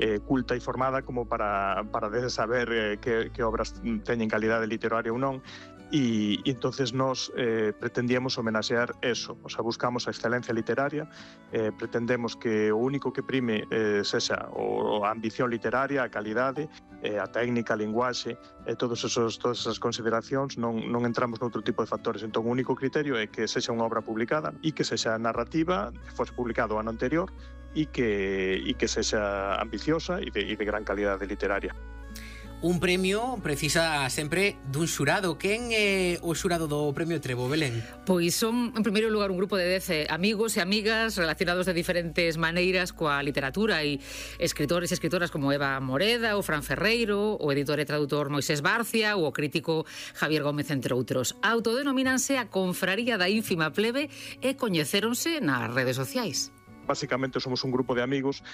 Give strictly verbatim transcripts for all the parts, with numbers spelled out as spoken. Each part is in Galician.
eh, culta e formada como para, para saber eh, que, que obras teñen calidade literaria ou non. E, e entonces nos eh, pretendíamos homenaxear eso, o sea, buscamos a excelencia literaria, eh, pretendemos que o único que prime eh, sexa o, a ambición literaria, a calidade, eh, a técnica, a linguaxe, eh, todos esos, todas esas consideracións, non, non entramos noutro tipo de factores. Entón, o único criterio é que sexa unha obra publicada e que sexa narrativa, que fose publicado o ano anterior, e que, e que sexa ambiciosa e de, e de gran calidade literaria. Un premio precisa sempre dun xurado. Quen é o xurado do Premio Trevo, Belén? Pois son, en primeiro lugar, un grupo de dez amigos e amigas relacionados de diferentes maneiras coa literatura e escritores e escritoras como Eva Moreda, o Fran Ferreiro, o editor e traductor Moisés Barcia ou o crítico Javier Gómez, entre outros. Autodenomínanse a Confraría da Ínfima Plebe e coñecéronse nas redes sociais. Básicamente somos un grupo de amigos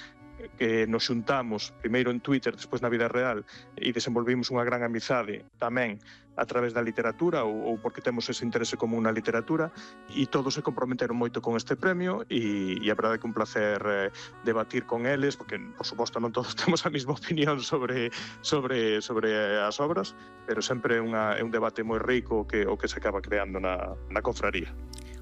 que nos xuntamos primeiro en Twitter, despois na vida real, e desenvolvimos unha gran amizade tamén a través da literatura ou, ou porque temos ese interese común na literatura, e todos se comprometeron moito con este premio e, e a verdade é que un placer eh, debatir con eles, porque por suposto non todos temos a mesma opinión sobre, sobre, sobre as obras, pero sempre é, unha, é un debate moi rico que, o que se acaba creando na, na confraría.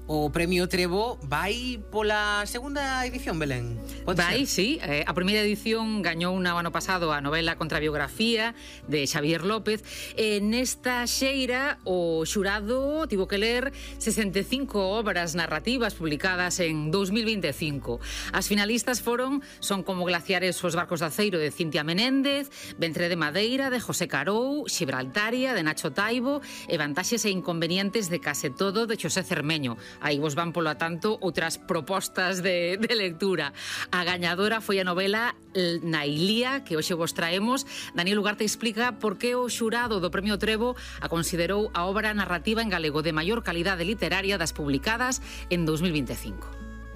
O Premio Trevo vai pola segunda edición, Belén? Vai, sí. Eh, a primeira edición gañou un ano pasado a novela Contrabiografía de Xavier López. E nesta xeira o xurado tivo que ler sesenta e cinco obras narrativas publicadas en dous mil vinte e cinco. As finalistas foron Son como glaciares os barcos de aceiro de Cintia Menéndez, Ventre de madeira de José Carou, Xibraltaria de Nacho Taibo e Vantaxes e inconvenientes de Case todo de Xosé Cermeño. Aí vos van, polo tanto, outras propostas de, de lectura. A gañadora foi a novela Nailía, que hoxe vos traemos. Daniel Ugarte explica por que o xurado do Premio Trevo a considerou a obra narrativa en galego de maior calidade literaria das publicadas en dous mil vinte e cinco.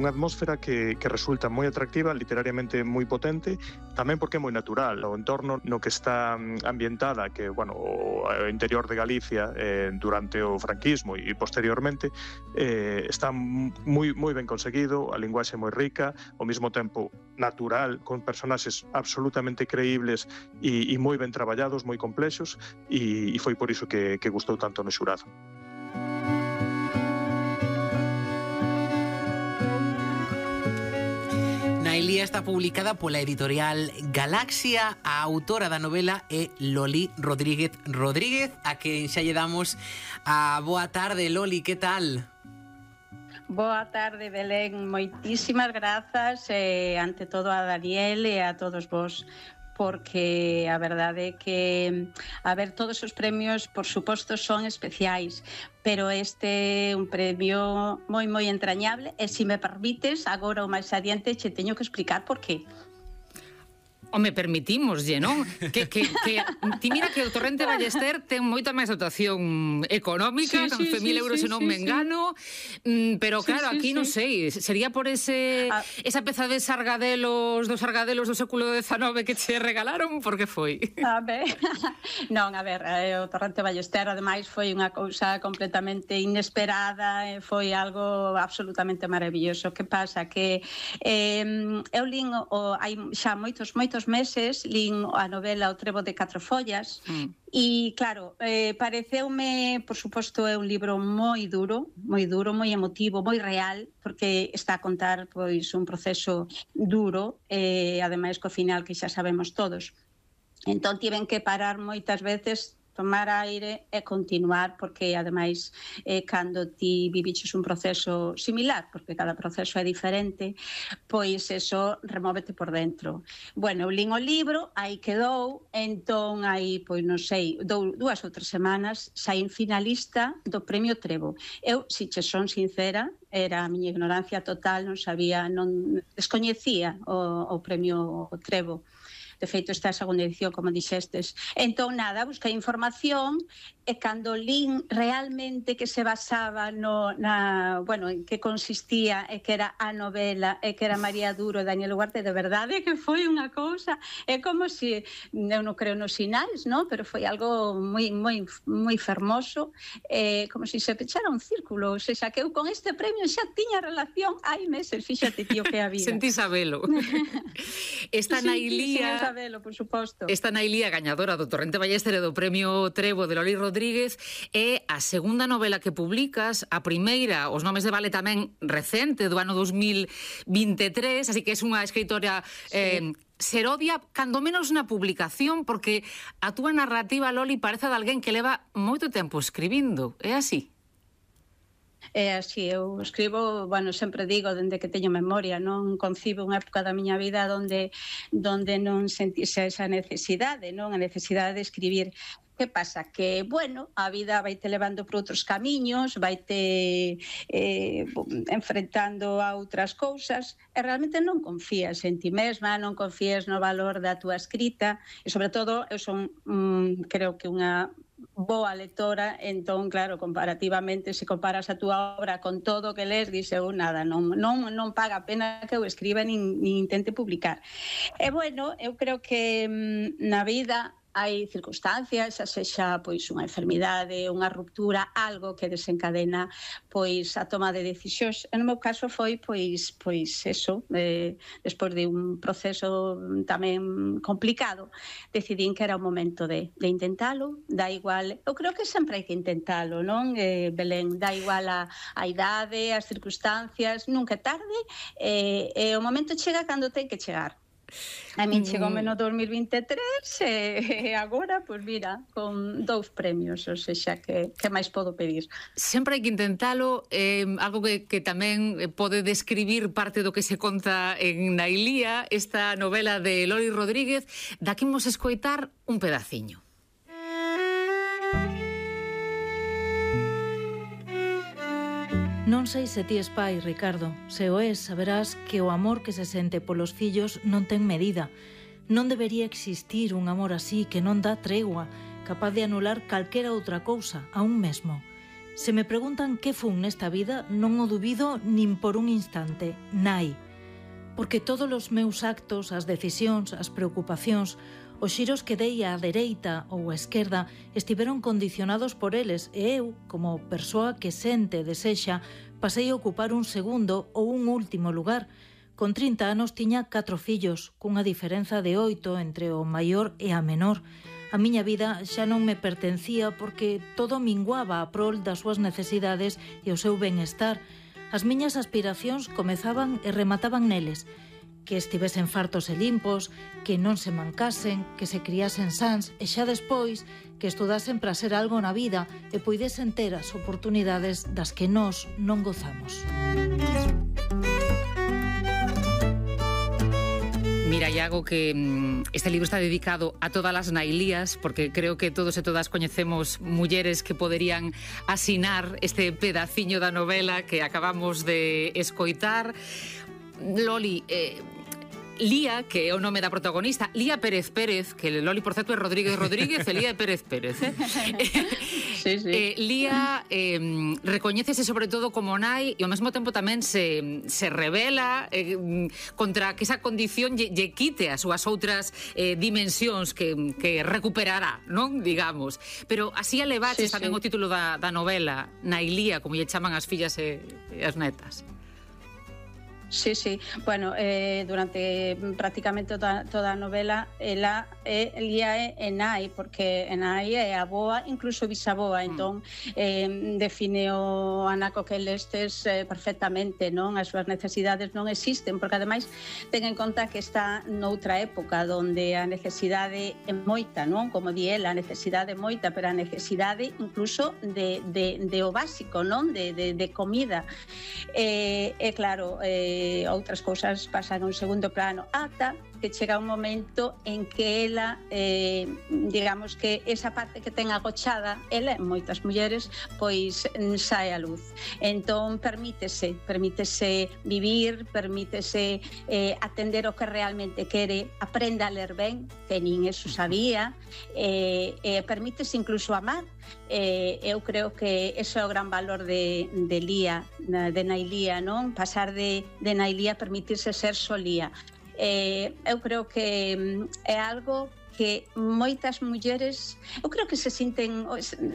Unha atmósfera que, que resulta moi atractiva, literariamente moi potente, tamén porque é moi natural. O entorno no que está ambientada, que, bueno, o interior de Galicia eh, durante o franquismo e posteriormente, eh, está moi, moi ben conseguido, a linguaxe moi rica, ao mesmo tempo natural, con personaxes absolutamente creíbles e, e moi ben traballados, moi complexos, e, e foi por iso que, que gustou tanto no xurado. Nailía está publicada pola editorial Galaxia. A autora da novela é Loli Rodríguez Rodríguez, a quen xa lle damos a boa tarde. Loli, que tal? Boa tarde, Belén. Moitísimas grazas eh, ante todo a Daniel e a todos vos, porque a verdade é que, a ver, todos os premios, por suposto, son especiais, pero este é un premio moi, moi entrañable, e se me permites, agora o máis adiante che teño que explicar por qué. Home, permitímoslle, non? Que, que, que, ti mira que o Torrente Ballester ten moita máis dotación económica, sí, sí, mil sí, euros sí, se non sí, me engano, sí. Pero claro, sí, sí, aquí sí. Non sei, sería por ese ah. esa peza de sargadelos, dos sargadelos do século dezenove que che regalaron, por que foi? A ver, non, a ver, o Torrente Ballester ademais foi unha cousa completamente inesperada, foi algo absolutamente maravilloso. Que pasa? Que eh, eu lin o, hai xa moitos, moitos meses lin a novela O Trevo de Catro Follas mm. e claro, eh, pareceume, por suposto, é un libro moi duro, moi duro, moi emotivo, moi real, porque está a contar pois un proceso duro e eh, ademais co final que xa sabemos todos. Entón tiven que parar moitas veces, tomar aire e continuar, porque ademais eh, cando ti viviches un proceso similar, porque cada proceso é diferente, pois eso remóvete por dentro. Bueno, eu lin o libro, aí quedou, entón aí, pois non sei, dou, dúas ou tres semanas saín finalista do Premio Trevo. Eu, se che son sincera, era a miña ignorancia total, non sabía, non descoñecía o, o Premio Trevo. De feito, esta segunda edición, como dixestes. Entón, nada, busquei información e cando lín realmente que se basaba no, na, bueno, en que consistía e que era a novela e que era María Duro e Daniel Ugarte, de verdade que foi unha cousa, é como se, eu non creo nos sinais, no? Pero foi algo moi moi moi fermoso, eh, como se se pechara un círculo, ou seja, que eu con este premio xa tiña relación hai meses, fíxate, tío, que a vida. Sentí sabelo. Esta sí, Nailía, sí, sabelo, por suposto. Esta Nailía gañadora do Torrente Ballester e do Premio Trevo de Loli Rodríguez é a segunda novela que publicas, a primeira, Os nomes de Vale tamén recente, do ano dos mil vinte e tres, así que é unha escritora eh, sí. serodia, cando menos na publicación, porque a túa narrativa, Loli, parece de alguén que leva moito tempo escribindo, é así? É así, eu escribo, bueno, sempre digo, dende que teño memoria, non concibo unha época da miña vida onde, donde non sentise esa necesidade, non? A necesidade de escribir. Que pasa? Que, bueno, a vida vai te levando por outros camiños, vai te eh, enfrentando a outras cousas, e realmente non confías en ti mesma, non confías no valor da túa escrita, e sobre todo, eu son, mm, creo que unha boa lectora, entón, claro, comparativamente, se comparas a túa obra con todo o que lees, dixe, eu nada, non, non, non paga a pena que eu escriba nin, nin intente publicar. E, bueno, eu creo que mm, na vida hai circunstancias, xa sexa pois unha enfermidade, unha ruptura, algo que desencadena pois a toma de decisións. En meu caso foi pois pois eso, eh, despois de un proceso tamén complicado, decidín que era o momento de, de intentalo, da igual, eu creo que sempre hai que intentalo, non? Eh, Belén, da igual a, a idade, as circunstancias, nunca é tarde, e eh, eh, o momento chega cando ten que chegar. A min chegoume no dos mil vinte e tres e agora, pois mira, con dous premios, ou seja, que, que máis podo pedir? Sempre hai que intentalo, eh, algo que, que tamén pode describir parte do que se conta en Nailía, esta novela de Loli Rodríguez, da que imos escoitar un pedaciño. Non sei se ti es pai, Ricardo. Se o es, saberás que o amor que se sente polos fillos non ten medida. Non debería existir un amor así que non dá tregua, capaz de anular calquera outra cousa, a un mesmo. Se me preguntan que fun nesta vida, non o dubido nin por un instante. Nai. Porque todos os meus actos, as decisións, as preocupacións, os xiros que dei á dereita ou á esquerda estiveron condicionados por eles e eu, como persoa que sente e desexa, pasei a ocupar un segundo ou un último lugar. Con trinta anos tiña catro fillos, cunha diferenza de oito entre o maior e a menor. A miña vida xa non me pertencía porque todo minguaba a prol das súas necesidades e o seu benestar. As miñas aspiracións comezaban e remataban neles. Que estivesen fartos e limpos, que non se mancasen, que se criasen sans e xa despois que estudasen para ser algo na vida e poidesen ter as oportunidades das que nós non gozamos. Mira, Iago, que este libro está dedicado a todas as Nailías, porque creo que todos e todas coñecemos mulleres que poderían asinar este pedaciño da novela que acabamos de escoitar. Loli, eh, Lía, que é o nome da protagonista, Lía Pérez Pérez, que Loli, por certo, é Rodríguez Rodríguez e Lía Pérez Pérez. Eh? Sí, sí. Eh, Lía eh, recoñécese sobre todo como nai e ao mesmo tempo tamén se, se revela eh, contra que esa condición lle, lle quite as súas outras eh, dimensións que, que recuperará, non? Digamos. Pero así elevaches sí, tamén sí. O título da, da novela, Nailía, como lle chaman as fillas e, e as netas. Sí, sí. Bueno, eh, durante prácticamente toda, toda a novela ela é Lía é nai, porque nai é aboa, incluso bisaboa, entón eh, define o anaco que lestes eh, perfectamente, non? As súas necesidades non existen, porque ademais ten en conta que está noutra época onde a necesidade é moita, non? Como di ela, a necesidade é moita, pero a necesidade incluso de, de, de o básico, non? De, de, de comida. E eh, eh, claro, eh, outras cousas pasan a un segundo plano ata que chega un momento en que ela, eh, digamos que esa parte que ten agochada, ela e moitas mulleres, pois sae a luz. Entón, permítese, permítese vivir, permítese eh, atender o que realmente quere, aprenda a ler ben, que nin eso sabía, eh, eh, permítese incluso amar. Eh, eu creo que ese é o gran valor de, de Lía, de Nailía, non? Pasar de, de Nailía a permitirse ser solía. Eh, eu creo que é algo que moitas mulleres, eu creo que se sinten,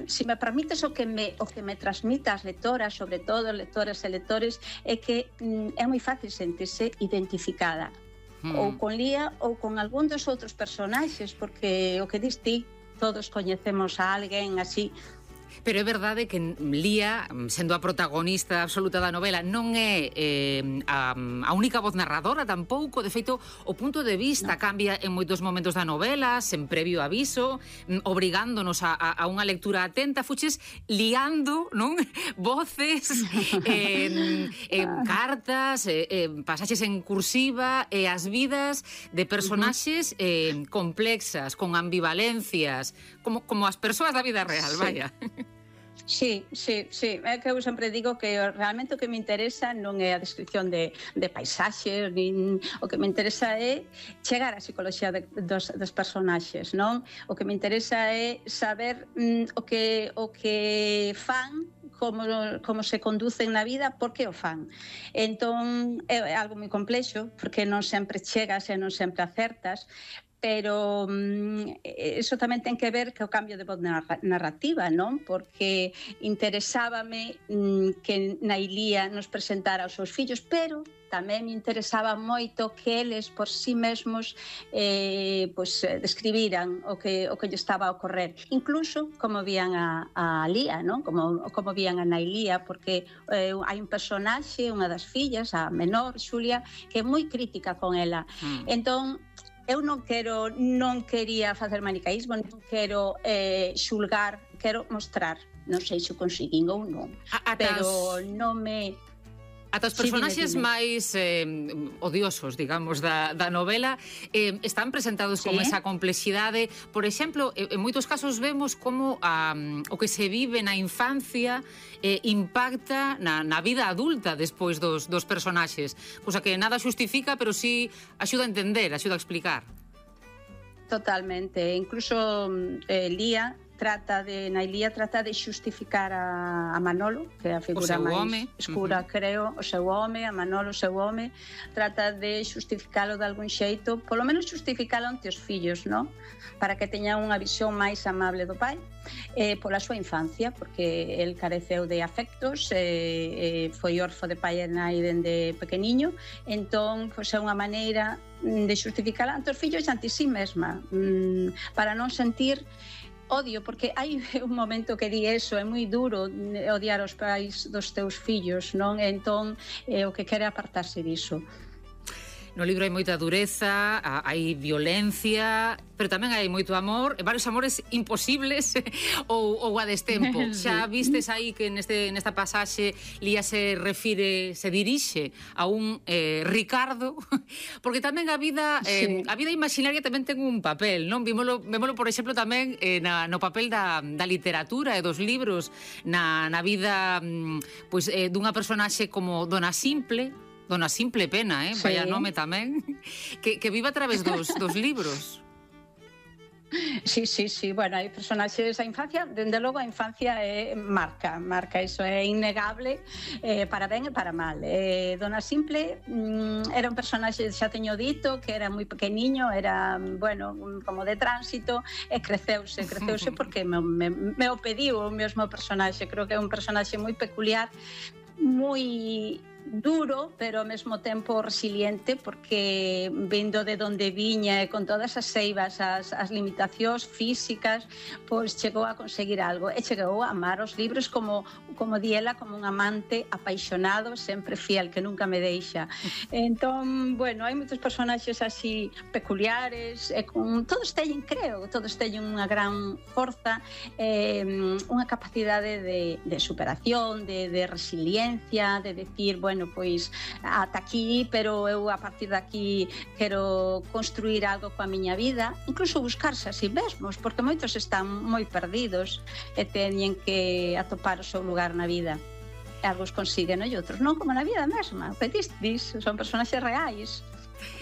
se me permites, o que me, o que me transmita as lectoras, sobre todo lectoras e lectores, é que é moi fácil sentirse identificada, hmm. ou con Lía ou con algún dos outros personaxes, porque o que dis ti, todos coñecemos a alguén así. Pero é verdade que Lía, sendo a protagonista absoluta da novela, non é eh, a, a única voz narradora tampouco. De feito, o punto de vista no. cambia en moitos momentos da novela, sen previo aviso, obrigándonos a, a, a unha lectura atenta. Fuches liando, non? Voces, eh, eh, cartas, eh, eh, pasaxes en cursiva, e eh, as vidas de personaxes eh, complexas, con ambivalencias, como, como as persoas da vida real, sí. vaya. Sí, sí, sí, é que eu sempre digo que realmente o que me interesa non é a descripción de, de paisaxes, nin, o que me interesa é chegar á psicoloxía de, dos, dos personaxes, non? O que me interesa é saber mm, o, que, o que fan, como, como se conducen na vida, por que o fan. Entón, é algo moi complexo, porque non sempre chegas e non sempre acertas, pero mm, eso tamén ten que ver co cambio de voz narrativa, non? Porque interesábame mm, que Nailía nos presentara os seus fillos, pero tamén me interesaba moito que eles por sí mesmos eh, pues, describiran o que, o que lle estaba a ocorrer, incluso como vían a, a Lía, non? Como, como vían a Nailía, porque eh, hai un personaxe, unha das fillas, a menor, Xulia, que é moi crítica con ela. Mm. Entón, eu non quero, non quería facer manicaísmo, non quero eh, xulgar, quero mostrar, non sei se o conseguín ou non, a, pero non me... Ata os personaxes sí, máis eh, odiosos, digamos, da, da novela eh, están presentados sí. con esa complexidade. Por exemplo, en moitos casos vemos como um, o que se vive na infancia eh, impacta na, na vida adulta despois dos, dos personaxes, cousa que nada xustifica, pero sí axuda a entender, axuda a explicar. Totalmente, incluso eh, Lía trata de, Nailía trata de xustificar a, a Manolo, que é a figura máis home. escura, uh-huh. creo, o seu home, a Manolo, o seu home, trata de xustificalo de algún xeito, polo menos xustificalo ante os fillos, non? Para que teñan unha visión máis amable do pai, eh, pola súa infancia, porque el careceu de afectos, eh, eh, foi orfo de pai e nai dende pequeniño, entón, pois é unha maneira de xustificar ante os fillos e ante si mesma, mm, para non sentir odio, porque hai un momento que di eso, é moi duro odiar os pais dos teus fillos, non? Entón, eh, o que quere apartarse diso. No libro hai moita dureza, hai violencia, pero tamén hai moito amor, e varios amores imposibles ou, ou a destempo. Xa vistes aí que neste, nesta pasaxe Lía se refire, se dirixe a un eh, Ricardo, porque tamén a vida eh, sí. a vida imaginaria tamén ten un papel, non? Vímolo, vémolo, por exemplo, tamén eh, na, no papel da, da literatura e dos libros, na, na vida pues, eh, dunha personaxe como Dona Simple, Dona Simple Pena, eh? Sí. Vaya nome tamén, que, que vive a través dos, dos libros. Sí, sí, sí, bueno, hai personaxes da infancia, dende logo a infancia é marca, marca, iso é innegable, eh, para ben e para mal. Eh, Dona Simple mm, era un personaxe, xa teño dito, que era moi pequeniño, era, bueno, como de tránsito, e creceuse, creceuse porque me, me, me o pediu o mesmo personaxe, creo que é un personaxe moi peculiar, moi duro, pero ao mesmo tempo resiliente, porque vindo de donde viña e con todas as seivas, as, as limitacións físicas, pois chegou a conseguir algo, e chegou a amar os libros como como diela, como un amante apaixonado, sempre fiel, que nunca me deixa. Entón, bueno, hai moitos personaxes así peculiares, e con, todos teñen, creo, todos teñen unha gran forza, eh, unha capacidade de, de superación, de, de resiliencia, de decir, bueno, pois ata aquí, pero eu a partir de aquí quero construir algo coa miña vida, incluso buscarse a si mesmos, porque moitos están moi perdidos e teñen que atopar o seu lugar na vida. E algos consiguen, e outros non, como na vida mesma. O que dis, dis, son personaxes reais,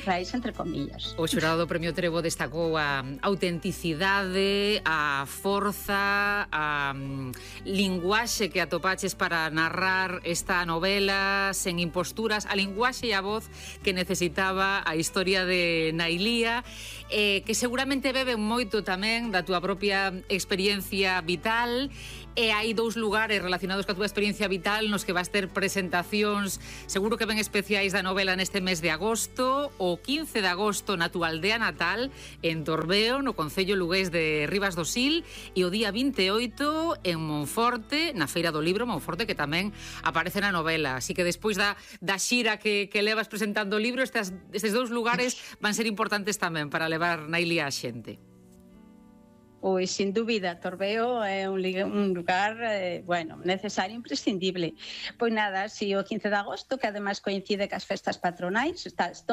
reais entre comillas. O xurado do Premio Trevo destacou a autenticidade, a forza, a um, linguaxe que atopaches para narrar esta novela sen imposturas, a linguaxe e a voz que necesitaba a historia de Nailía, eh, que seguramente beben moito tamén da túa propia experiencia vital. E hai dous lugares relacionados coa túa experiencia vital nos que vas ter presentacións seguro que ben especiais da novela neste mes de agosto. O quince de agosto na túa aldea natal en Torbeo, no concello lugués de Ribas do Sil, e o día vinte e oito en Monforte, na Feira do Libro Monforte, que tamén aparece na novela. Así que despois da, da xira que, que levas presentando o libro, estes, estes dous lugares van ser importantes tamén para levar Nailía a xente. Pois, sin dúbida, Torbeo é un, un lugar, eh, bueno, necesario, imprescindible. Pois nada, si o quince de agosto, que ademais coincide cas festas patronais, está todo